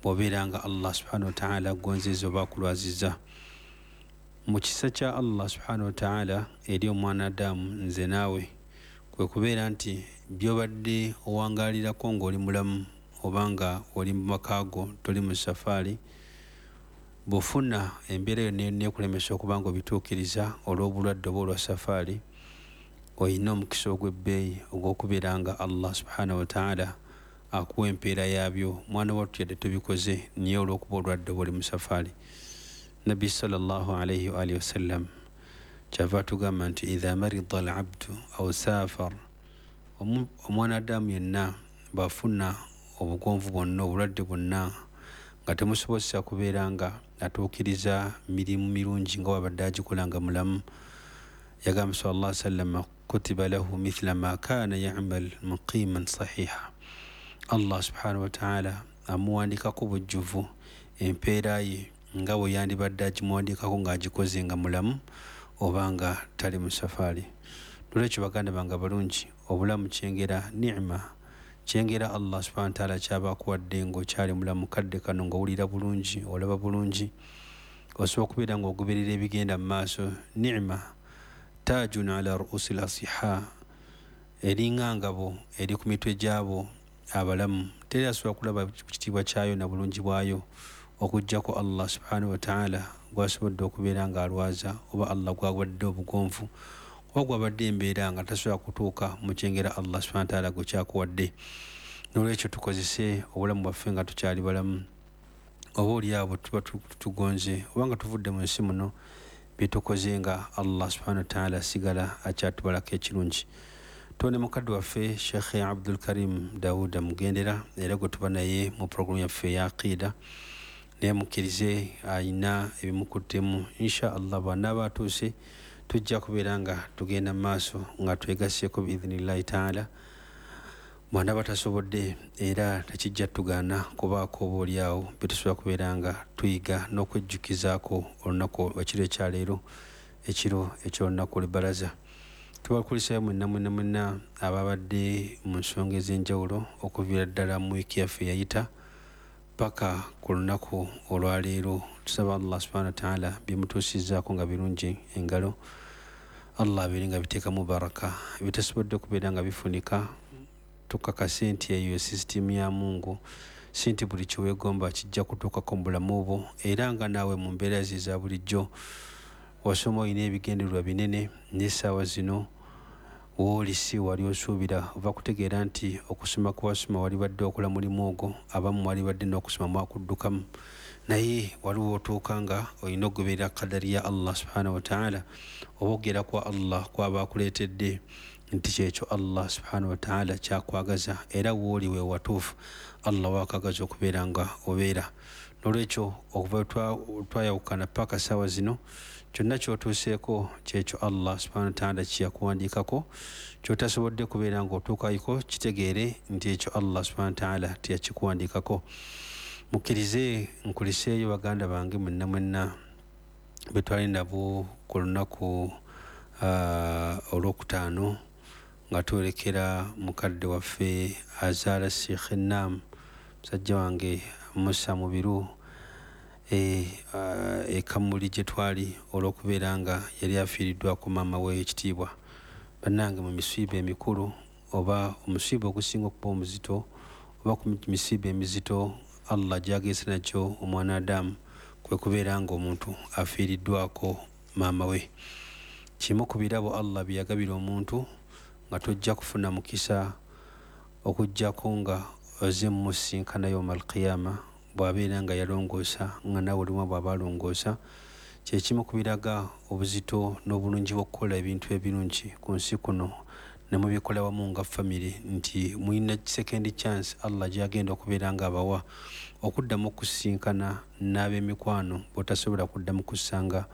Bw'obeera nga Allah subhanahu wataala agonzeza oba akulwaziza, mu kisa kya Allah subhanahu wataala eri omwana Adamu, nze naawe, kwe kubeera nti byobadde owangaalirako ng'oli mulamu oba nga oli mu maka go, toli mu safaari, bw'ofuna embeera yonna yonna ekulemesa okuba nga obituukiriza olw'obulwadde oba olwa safaari, olina omukisa ogw'ebbeeyi ogw'okubeera nga Allah subhanahu wataala akuwa empeera yaabyo. Mwana wattu, yadde tobikoze, naye olw'okuba olwadde oba oli mu safaari, Nabbi sallallahu alaihi waalihi wasallam kyava atugamba nti idha marida al abdu au safar, omwana Adamu yenna bw'afuna obugonvu bwonna, obulwadde bwonna nga temusobozesa kubeera nga atuukiriza mirimu mirungi nga wabadde agikola nga mulamu, yagamba sal llah sallama, kutiba lahu mithla ma kana yamal muqiman sahiha, Allah subhanahu wataala amuwandikako bujjuvu empeera ye nga bwe yandibadde agimuwandikako ng'agikoze nga mulamu oba nga tali mu safaari. Nolwekyo baganda bange abalungi, obulamu kyengera, nima kyengera Allah subhana wataala kyaba akuwadde ng'okyali mulamu. Kadde kano ng'owulira bulungi, olaba bulungi, osobola okubeera ng'ogoberera ebigenda mu maaso, nima tajun ala ruusi lasiha, eringa ngabo eri ku mitwe gyabo abalamu. Teri asobola kulaba kitiibwa kyayo na bulungi bwayo okugjako Allah subhanahu wataala gwasobodde okubeera ng'alwaza, oba Allah gwabadde obugonvu, oba gwabadde embeera nga tasobola kutuuka mu kyengera Allah subhana wataala gwe kyakuwadde. Nolwekyo tukozese obulamu bwaffe nga tukyali balamu. Oba oli awo tuba tugonze oba nga tuvudde mu nsi muno, byetukoze nga Allah subhana wataala asigala akyatubalako ekirungi. Tone mukadde waffe Shekhe Abdul Karim Dawuda Mugendera, era gwe tuba naye mu puroguramu yaffe eya aqida, naye mukkirize ayina ebimukuttemu. Insha Allah bwanaaba atuuse, tujja kubeera nga tugenda mu maaso nga twegaseeko biidhinillahi taala. Bwanaaba tasobodde, era tekijja tugaana kubaako oba oliawo byetusobola kubeera nga tuyiga n'okwejjukizaako olunaku, ekiro ekyaleero, ekiro ekyolunaku olw'ebbalaza. Tubakulisayo mwenna mwenna mwenna ababadde mu nsonga ez'enjawulo okuviira ddala mu wiiki yaffe eyayita paka ku lunaku olwaleero. Tusaba Allah subhana wataala byemutuusizaako nga birungi engalo, Allah abeere nga biteekamu baraka. Ebitasobodde kubeera nga bifunika, tukakase nti eyo sisitimu ya Mungu, si nti buli kyeweegomba kijja kutuukako mu bulamu bwo. Era nga naawe mu mbeera ze eza bulijjo wasoma, olina ebigendererwa binene, n'essaawa zino wooli si wali osuubira. Ova kutegeera nti okusoma kwewasoma wali badde okola mulimu ogwo, abamu wali badde n'okusoma mwakuddukamu, naye waliwo otuuka nga olina okugoberera kadari ya Allah subhanahu wataala, oba okugera kwa Allah kwaba akuleetedde nti kyekyo Allah subhanahu wataala kyakwagaza, era wooli we watuufu Allah wakagaza okubeera nga obeera. Nolwekyo okuva twayawukana paka saawa zino, kyonna kyotuuseeko kyekyo Allah subhanahu wataala kyeyakuwandiikako. Kyotasobodde kubeera nga otuukayiko, kitegeere nti ekyo Allah subhanahu wataala teyakikuwandiikako. Mukkirize nkuliseeyo baganda bange mwenna mwenna betwali nabo ku lunaku olwokutaano nga twolekera mukadde waffe azaala Sheikh Nam, musajja wange Musa Mubiru, ekamuli gye twali olw'okubeera nga yali afiiriddwako maama we ekitiibwa. Bannange, mu misiiba emikulu oba omusiiba ogusinga okuba omuzito oba ku misiiba emizito Allah gyagese nakyo omwana Adamu, kwe kubeera nga omuntu afiiriddwako maama we. Kimu ku birabo Allah bye yagabira omuntu nga tojja kufuna mukisa okugjako nga oze mumusinkana yoma alqiyama, bw'abeera nga yalongoosa nga naawe olimu bw'aba alongoosa. Kyekimu ku biraga obuzito n'obulungi bw'okukola ebintu ebirungi ku nsi kuno ne mubikola wamu nga famire, nti mulina second chance Allah gyagenda okubeera nga abawa okuddamu okusinkana n'ab'emikwano bw'otasobola kuddamu kusanga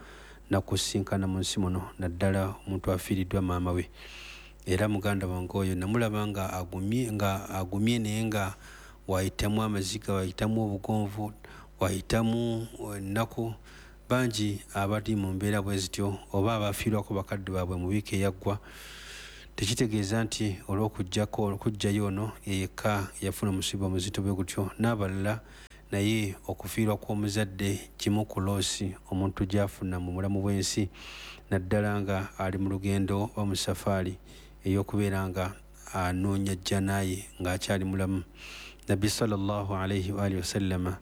nakusinkana mu nsi muno, naddala omuntu afiiriddwa maama we. Era muganda wange oyo namulaba nga agumye, naye nga wayitamu amaziga, wayitamu obugonvu, wayitamu ennaku. Bangi abali mu mbeera bwe zityo oba abafiirwako bakadde baabwe mu wiiki eyaggwa, tekitegeeza nti olw'okujjako okujjayo ono yeyekka yafuna omusiba omuzito bwe gutyo, n'abalala Naye okufiirwa kw'omuzadde kimu ku loosi omuntu gy'afuna mu bulamu bw'ensi, naddala nga ali mu lugendo oba mu safaari ey'okubeera nga anoonya jjanaye ng'akyali mulamu. Nabbi sallallahu alaihi waalihi wasallama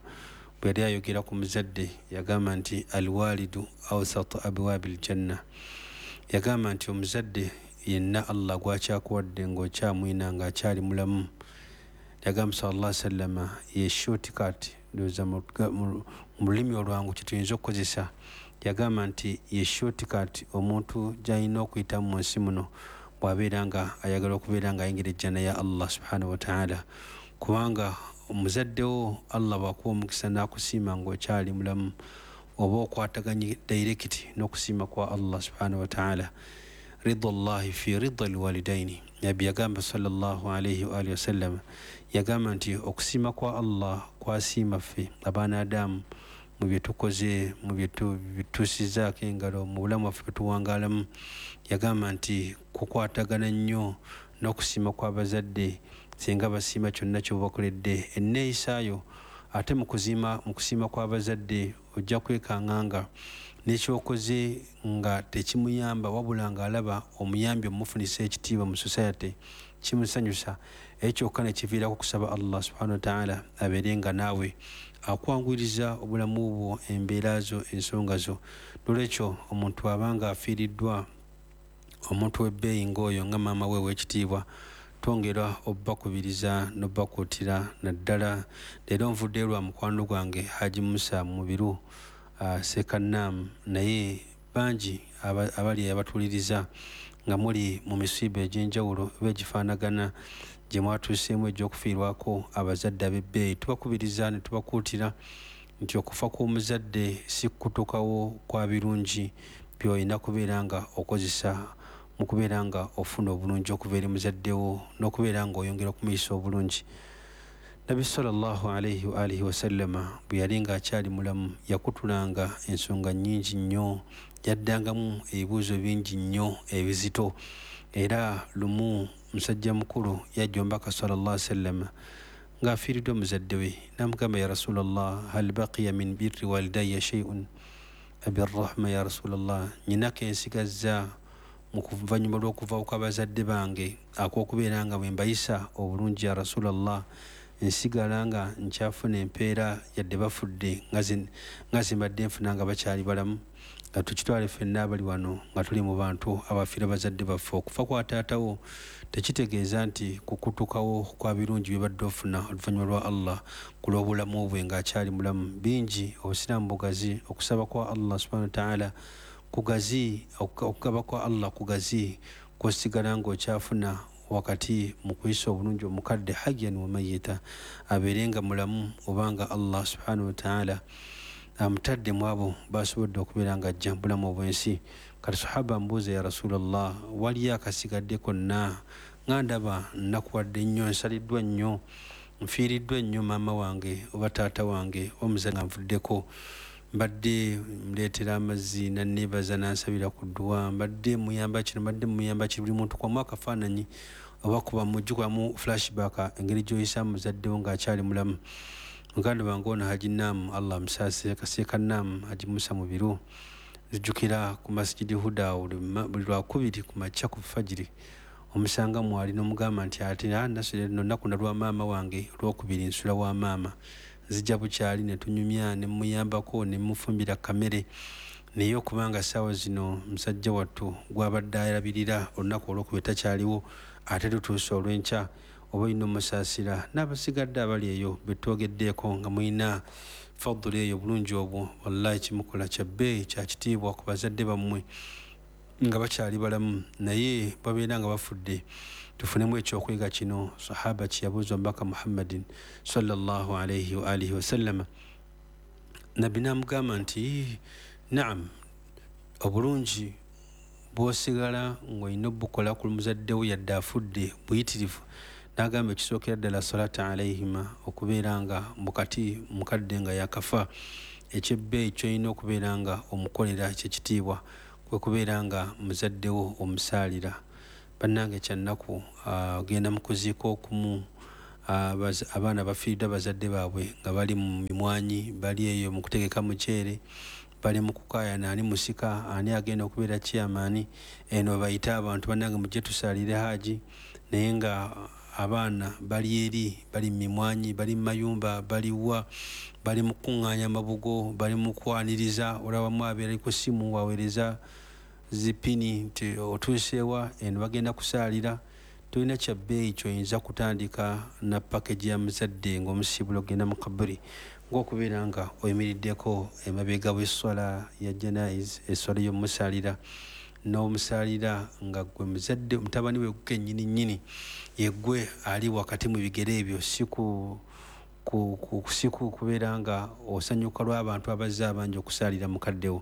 bwe yali ayogera ku muzadde yagamba nti alwalidu awsatu abwabi ljanna. Yagamba nti omuzadde yenna Allah gwakyakuwadde ng'okyamwina ng'akyali mulamu, yagamba sallallahu sallama ye shortcut, ndowooza mu lulimi olwangu kyetuyinza okukozesa, yagamba nti ye shortcut omuntu gy'alina okuyitamu mu nsi muno bw'abeera nga ayagala okubeera nga ayingira ejjana ya Allah subhanahu wataala. Kubanga omuzaddewo Allah bw'akuwa omukisa n'akusiima ng'okyali mulamu, oba okwataganye direct n'okusiima kwa Allah subhanahu wataala. Rida llahi fi rida lwalidaini, Nabbi yagamba sallallahu alaihi waalihi wasallama, yagamba nti okusiima kwa Allah kwasiima ffe abaana Adamu mu bye tukoze, mu bye tutuusizaako engalo mu bulamu bwaffe bwe tuwangaalamu, yagamba nti kukwatagana nnyo n'okusiima kw'abazadde singa basiima kyonna ky'obakoledde enneeyisaayo. Ate mu kusiima kw'abazadde ojja kwekanga nga n'ekyokoze nga tekimuyamba, wabula ng'alaba omuyambi omufunisa ekitiibwa mu society kimusanyusa, ekyo kyokka ne kiviirako okusaba Allah subhanahu wataala abeere nga naawe akwanguyiriza obulamu bwo, embeera zo, ensonga zo. Nolwekyo omuntu abanga afiiriddwa omuntu w'ebbeeyi ng'oyo nga maama we ow'ekitiibwa, twongera obbakubiriza n'obbakuutira. Naddala leero nvuddeyo lwa mukwano gwange Haji Musa Mubiru Sekannaamu, naye bangi abali abatuuliriza nga muli mu misiiba egy'enjawulo oba egifaanagana gye mwatuuseemu egy'okufiirwako abazadde ab'ebbeeyi, tubakubiriza ne tubakuutira nti okufa kw'omuzadde si kutuukawo kwa birungi by'olina kubeera nga okozesa mu kubeera nga ofuna obulungi okuva eri muzaddewo n'okubeera nga oyongera okumuyisa obulungi. Nabbi sallallahu alaihi waalihi wasallama bwe yali ng'akyali mulamu yakutulanga ensonga nnyingi nnyo, yaddangamu ebibuuzo bingi nnyo ebizito. Era lumu musajja mukulu yajja omubaka sallallahu alaihi wasallama ng'afiiriddwa muzadde we, n'amugamba ya Rasulallah, hal baqiya min birri walidayya shay'un abirrahma ya Rasulallah, nnyina ke nsigazza mu kuvannyuma lw'okuva kw'abazadde bange ak'okubeera nga bwe mbayisa obulungi ya Rasulallah, nsigala nga nkyafuna empeera yadde bafudde nga zimbadde nfuna nga bakyali balamu. Nga tukitwale ffenna abali wano nga tuli mu bantu abafiira bazadde baffe, okufa kwa taatawo tekitegeeza nti kukutukawo kwa birungi byebadde ofuna oluvannyuma lwa Allah ku lw'obulamu bwe ng'akyali mulamu. Bingi obusiraamu bugazi, okusaba kwa Allah subhanahu wataala kugazi, okugaba kwa Allah kugazi, kwosigala ng'okyafuna wakati mu kuyisa obulungi omukadde hayyan wa mayita, abeere nga mulamu obanga Allah subhanahu wataala amutadde mu abo basobodde okubeera nga ajja mu bulamu obw'ensi. Kati sahaba mbuuza ya Rasulallah, waliyo akasigadde konna nga ndaba nnakuwadde nnyo, nsaliddwa nnyo, nfiiriddwa nnyo maama wange oba taata wange oba muzadde nga nvuddeko, mbadde muleetera amazzi nanneebaza nansabira ku dduwa, mbadde muyamba kino, mbadde muyamba kino, buli muntu kwamu akafaananyi oba kuba mujjukwamu flashback engeri gy'oyisaamu muzaddewo ng'akyali mulamu. Muganda wange ono Haji Naamu, Allah amusaasire, Kaseekannaamu Haji Musa Mubiru, nzijukira ku Masjidi Huda buli lwakubiri ku makya ku fajiri omusanga mwali n'omugamba nti ate nasula lunaku lwa maama wange olwokubiri nsula wa maama, nzija bukyali ne tunyumya ne muyambako ne mufumbira kamere. Naye okubanga ssaawa zino musajja wattu gw'abadde alabirira olunaku olwokubiri takyaliwo, ate tutuuse olw'enkya, oba olina omusaasira n'abasigadde abali eyo be twogeddeeko nga mulina fadula eyo obulungi obwo, wallahi kimukola kya bbeeyi kya kitiibwa ku bazadde bammwe nga bakyali balamu, naye babeera nga bafudde. Tufunemu ekyokuyiga kino sahaba kye yabuuza omubaka Muhammadin sallallahu alaihi wa alihi wasallama. Nabbi n'amugamba nti naam, obulungi bw'osigala ng'olina obukola ku muzadde wo yadde afudde buyitirivu. N'agamba ekisookera ddala salata alaihima, okubeera nga mukati mukadde nga yakafa, ekyebbeeyi ky'olina okubeera nga omukolera kyekitiibwa kwe kubeera nga muzaddewo omusaalira. Bannange kyannaku, ogenda mu kuziika okumu Abaana bafiiriddwa bazadde baabwe nga bali mu mimwanyi, bali eyo mu kutegeka muceere, bali mu kukaayana ani musika, ani agenda okubeera chairman, eno bayite abantu bannange mujje tusaalire Haji, naye nga abaana bali eri, bali mu mimwanyi, bali mu mayumba, bali wa, bali mu kukuŋŋaanya amabugo, bali mu kwaniriza, olabamu abeera ali ku ssimu waweereza zipini nti otuuseewa, eno bagenda kusaalira. Tolina kya bbeeyi ky'oyinza kutandika na package ya muzadde ng'omusiibula okugenda mu kaburi, ng'okubeera nga oyimiriddeko emabega w'esswala ya janaiz, esswala y'omumusaalira, n'omusaalira nga ggwe muzadde, mutabani we kennyini nnyini yeggwe ali wakati mu bigere ebyo, si kubeera nga osanyuka lw'abantu abazze abangi okusaalira mukaddewo.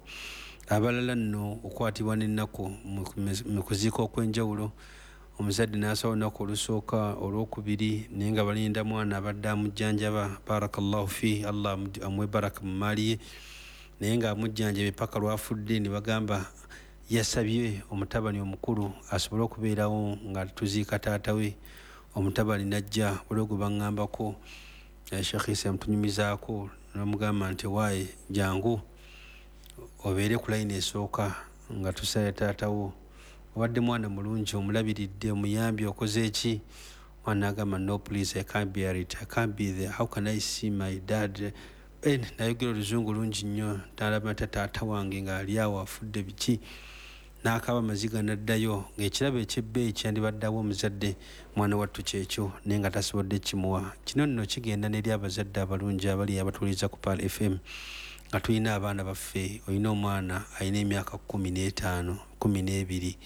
Abalala nno okwatibwa n'ennaku mu kuziika okw'enjawulo, omuzadde n'asaba olunaku olusooka olwokubiri, naye nga balinda mwana abadde amujjanjaba, barakallahu fi, Allah amuwe baraka mu maali ye, naye ng'amujjanjaba paka lwafudde ne bagamba yasabye omutabani omukulu asobole okubeerawo nga tuziika taata we. Omutabani n'ajja, waliwo gwe baŋŋambako, Sheikh Isa yamutunyumizaako, n'amugamba nti waaye jangu obeere ku layini esooka nga tusala taata wo, obadde mwana mulungi, omulabiridde, omuyambi, okoze ki? Mwana n'agamba no please, I can't bear it, I can't be there, how can I see my dad? Nayogera oluzungu lungi nnyo, nalaba nti taata wange ng'ali awo afudde biki, n'akaaba amaziga n'addayo. Ng'ekirabo eky'ebbeeyi kyandibaddeawo omuzadde mwana wattu kyekyo, naye nga tasobodde kimuwa. Kino nno kigenda n'eri abazadde abalungi abali abatuwuliriza ku Pearl FM, nga tulina abaana baffe. Olina omwana alina emyaka 15, 12,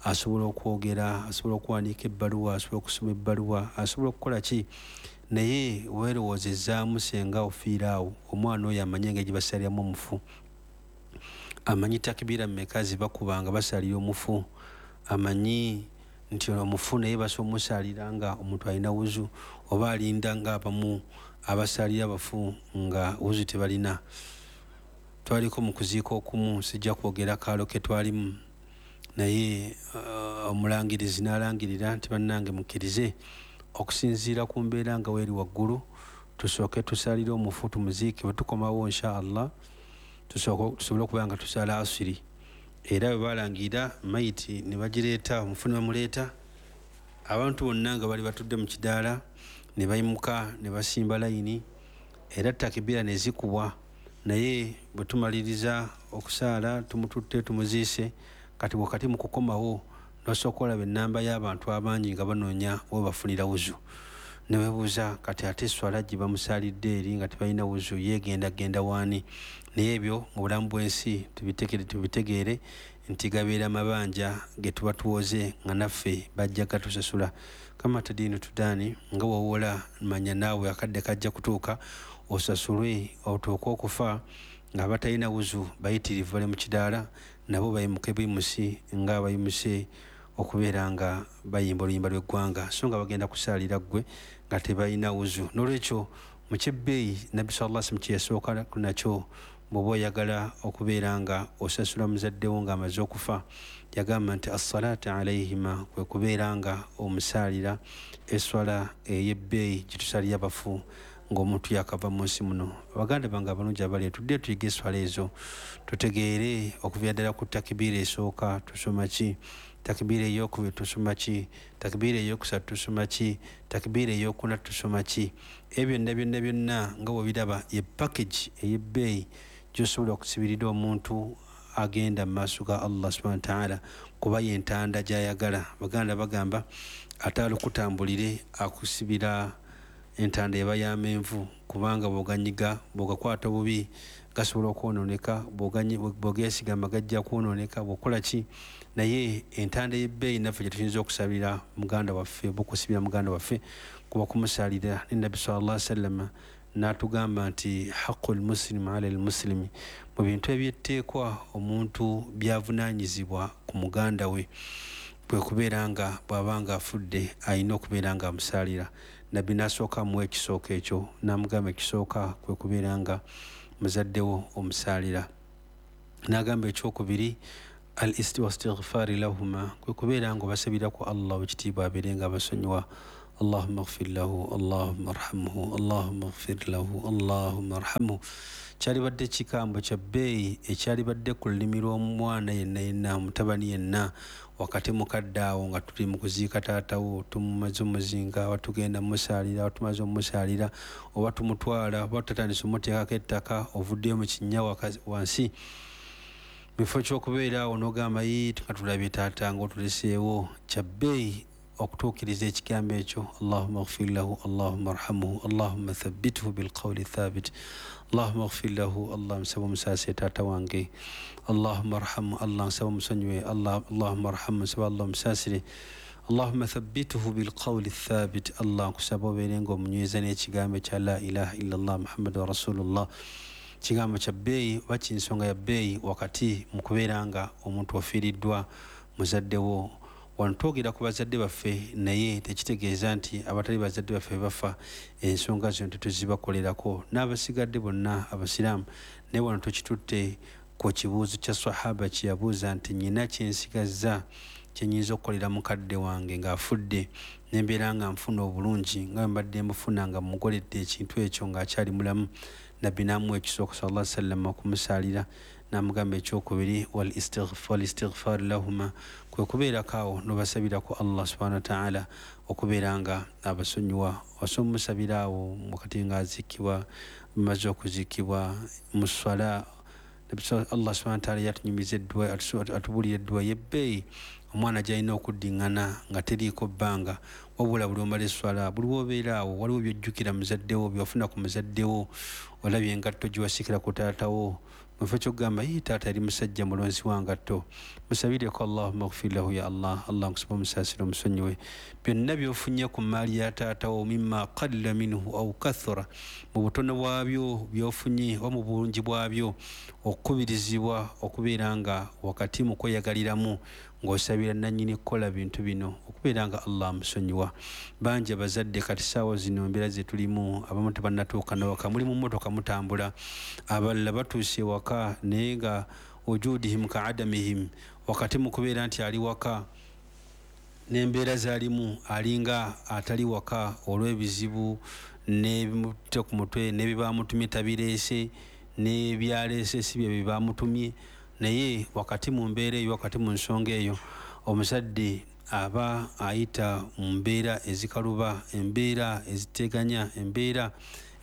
asobola okwogera, asobola okuwandiika ebbaluwa, asobola okusoma ebbaluwa, asobola okukola ki, naye weerowoozezaamu senga ofiira awo, omwana oyo amanyi engeri gye basaliramu omufu, amanyi takibira mmeka ze bakuba nga basalira omufu, amanyi nti omufu naye basobola omusalira nga omuntu alina wuzu, oba alinda nga abamu abasalira abafu nga wuzu tebalina. Twaliko mu kuziika okumu, sijja kwogera kaalo ke twalimu, naye omulangirizi n'alangirira nti bannange mukkirize okusinziira ku mbeera nga weeri waggulu, tusooke tusalire omufu tumuziike, bwe tukomawo insha Allah tusobole okubeera nga tusala asiri. Era bwe balangirira mayiti ne bagireeta, omufu ne bamuleeta, abantu bonna nga bali batudde mu kidaala ne bayimuka ne basimba layini, era takibira ne zikubwa. Naye bwe tumaliriza okusaala tumututte tumuziise, kati wakati mu kukomawo n'osooka olaba ennamba y'abantu abangi nga banoonya we bafunira wuzu, ne weebuuza kati ate esswala gye bamusaalidde eri nga tebalina wuzu yeegenda genda waani? Naye ebyo mu bulamu bw'ensi tubitegeere nti gabeera mabanja ge tuba tuwoze nga naffe bajja gatusasula. Kama tadiinu tudaani, nga w'owola manya naawe akadde kajja kutuuka osasulwe otuuke okufa nga abatalina wuzu bayitirivu bali mu kidaala, nabo bayimuke buyimusi nga abayimuse okubeera nga bayimba oluyimba lw'eggwanga, so nga bagenda kusaalira ggwe nga tebalina wuzu. N'olwekyo mu kyebbeeyi Nabbi sallallahu alaihi wasallam kye yasooka nakyo, bw'oba oyagala okubeera nga osasula muzaddewo ng'amaze okufa, yagamba nti as-salaatu alayhima, kwe kubeera nga omusaalira esswala ey'ebbeeyi gye tusalira abafu ng'omuntu yakava mu nsi muno. Baganda bange abalungi abali, tudde tuyige esswala ezo, tutegeere okuviira ddala ku takibiira esooka tusoma ki, takibiira ey'okubiri tusoma ki, takibiira ey'okusatu tusoma ki, takibiira ey'okuna tusoma ki. Ebyo byonna byonna byonna nga bw'obiraba ye package ey'ebbeeyi gy'osobola okusibirira omuntu agenda mu maaso ga Allah subhanahu wa ta'ala, kuba y'entanda gy'ayagala. Baganda bagamba ate alukutambulire akusibira entanda eba ya menvu, kubanga bw'oganyiga, bw'ogakwata obubi gasobola okwonooneka, bw'ogeesigama gajja kwonooneka, bw'okola ki. Naye entanda ey'ebbeeyi naffe gye tuyinza okusabira muganda waffe oba okusibira muganda waffe kuba kumusalira. Ne Nabbi sallallahu alaihi wasallam n'atugamba nti haqqul muslimu ala al-muslimi, mu bintu ebyetteekwa omuntu by'avunaanyizibwa ku muganda we kwe kubeera nga bw'aba nga afudde alina okubeera nga amusaalira. Nabbi n'asooka amuwa ekisooka ekyo, n'amugamba ekisooka kwe kubeera nga muzaddewo omusaalira. N'agamba ekyokubiri al-istighfaari lahuma, kwe kubeera nga obasabira ku Allah ow'ekitiibwa abeere nga abasonyiwa. Allahumma ighfir lahu, Allahumma arhamhu, Allahumma ighfir lahu, Allahumma arhamhu. Kyalibadde kikambo kya bbeeyi ekyalibadde ku lulimi lw'omwana yenna yenna, mutabani yenna, wakati mukadde awo nga tuli mu kuziika taatawo, tumumaze omuzinga, oba tugenda mumusaalira, oba tumaze omumusaalira, oba tumutwala, oba tutandise omuteekako ettaka, ovuddeyo mu kinnya wansi, mu kifo ky'okubeera awo n'ogamba yii nga tulabye taata ng'otuleseewo. Kya bbeeyi okutuukiriza ekigambo ekyo, Allahumma ighfir lahu, Allahumma arhamhu, Allahumma thabbithu bilqawli thabit, Allahumma ighfir lahu, Allah nsaba omusaasire taata wange, Allahumma arhamhu, Allah nsaba omusonyiwe, Allahumma arhamhu, nsaba Allah omusaasire, Allahumma thabbithu bilqawli thabit, Allah nkusaba obeere ng'omunyweza n'ekigambo kya la ilaha illallah Muhammadu rasulullah. Kigambo kya bbeeyi oba kinsonga ya bbeeyi wakati mu kubeera nga omuntu ofiiriddwa muzaddewo. Wano twogera ku bazadde baffe, naye tekitegeeza nti abatali bazadde baffe bafa ensonga zino tetuzibakolerako, n'abasigadde bonna abasiraamu. Naye wano tukitutte ku kibuuzo kya sahaba kye yabuuza nti nnyina kye nsigazza kye nnyinza okukolera mukadde wange ng'afudde, ne mbeera nga nfuna obulungi nga bwe mbadde mbufuna nga mmukoledde ekintu ekyo ng'akyali mulamu. Nabbi n'amuwa ekisooka sallallahu alaihi wasallam okumusaalira, n'amugamba ekyokubiri wal istighfar lahuma, kwe kubeerako awo n'obasabirako Allah subhanahu wa ta'ala okubeera nga abasonyiwa. Osobola omusabira awo wakati ng'aziikibwa, mumaze okuziikibwa mu swala. Allah subhanahu wa ta'ala yatunyumiza eddwa, atubuulira eddwa y'ebbeeyi omwana gy'alina okuddiŋŋana nga teriiko bbanga, wabula buli omala esswala, buli w'obeera awo waliwo by'ojjukira muzaddewo, by'ofuna ku muzaddewo, olabye engatto gye wasikira ku taatawo, mu kifo ky'okugamba yii taata yali musajja mulonzi wa ngatto, musabireko Allahumma ighfir lahu ya Allah, Allah nkusaba omusaasire omusonyiwe byonna by'ofunye ku mmaali ya taatawo, mimma qalla minhu aw kathura, mu butono bwabyo by'ofunye oba mu bulungi bwabyo, okukubirizibwa okubeera nga wakati mu kweyagaliramu ng'osabira nannyini kukola bintu bino okubeera nga Allah amusonyiwa. Bangi abazadde kati ssaawa zino embeera ze tulimu, abamu tebannatuuka nawaka, muli mu mmotoka mutambula, abalala batuuse waka naye nga wujudihim ka adamihim, wakati mu kubeera nti ali waka n'embeera z'alimu alinga atali waka olw'ebizibu n'ebimutute ku mutwe n'ebibamutumye tabireese n'ebyaleese si bye bibamutumye. Naye wakati mu mbeera eyo, wakati mu nsonga eyo, omuzadde aba ayita mu mbeera ezikaluba, embeera eziteganya, embeera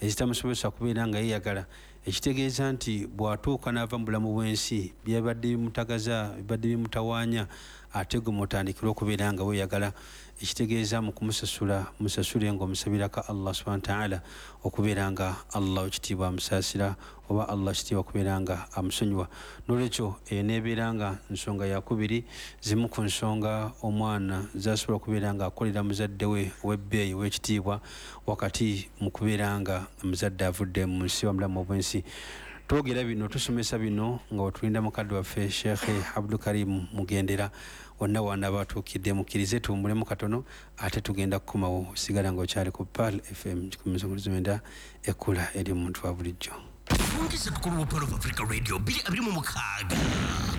ezitamusobozesa kubeera nga yeeyagala, ekitegeeza nti bw'atuuka n'ava mu bulamu bw'ensi byabadde bimutagaza, bibadde bimutawaanya, ate gwe mutandikira okubeera nga weeyagala, ekitegeeza mu kumusasula musasule ng'omusabirako Allah subhanahu wa ta'ala okubeera nga Allah ekitiibwa amusaasira oba Allah ekitiibwa okubeera nga amusonyiwa. N'olwekyo eyo n'ebeera nga nsonga yakubiri, zimu ku nsonga omwana z'asobola okubeera nga akolera muzadde we ow'ebbeeyi ow'ekitiibwa wakati mu kubeera nga muzadde avudde mu nsi wamulamu obw'ensi. Twogera bino, tusomesa bino nga wetulinda mukadde waffe Sheikh Abdul Karim Mugendera wonna wana batuukidde, mukkirize tuwummulemu katono ate tugenda kukomawo. Sigala ng'okyali ku Pearl FM 109 ekkula eri omuntu wa bulijjo. Fungisa tukulu wa Pearl of Africa Radio 2026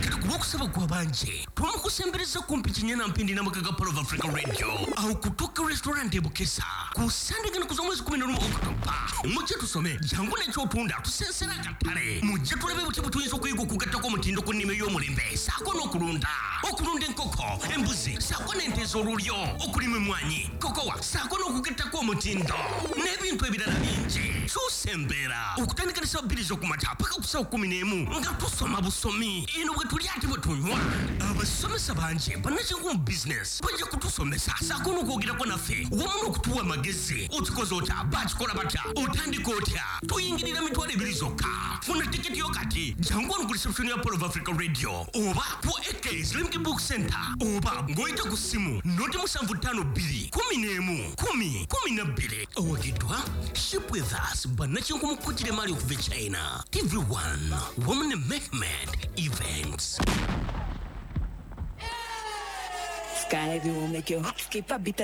kati ku lwokusaba kwa bangi twamukusembereza kumpi kinyana mpindi n'amaka ga Pearl of Africa Radio awo kutuuka restaurant e Bukesa ku Sande gano kuza omwezi 11 Okutoba. Mujje tusome, jangu n'ekyotunda tusensera akatale, mujje tulabe butya bwe tuyinza okuyiga okugattako omutindo ku nnima ey'omulembe ssaako n'okulunda, okulunda enkoko, embuzi ssaako n'ente ez'olulyo, okulima emmwanyi, kokowa ssaako n'okugattako omutindo n'ebintu ebirala bingi. Kyusa embeera okutandika ne ssaawa 2 ez'okumakya paka ku ssaawa 11 nga tusoma busomi, eno bwe tulya ate bwe tunywa. Abasomesa bangi bannakinku mu bizinesi bajja kutusomesa ssaako n'okwogerako naffe wamu n'okutuwa amagezi. Okikoze otya? Bakikola batya? Otandika otya? Tuyingirira 20,000 zokka. Funa tiketi yo kati, jangu wano ku reception ya Pearl of Africa Radio oba ku AK Islamic Book Center oba ng'oyita ku ssimu 075 2 11 10 12. Owagiddwa Ship With Us, bannakinku mu kukujira emaali okuva e China, TV1 wamu ne Mehmed Events. Sky will make your heart skip a beat.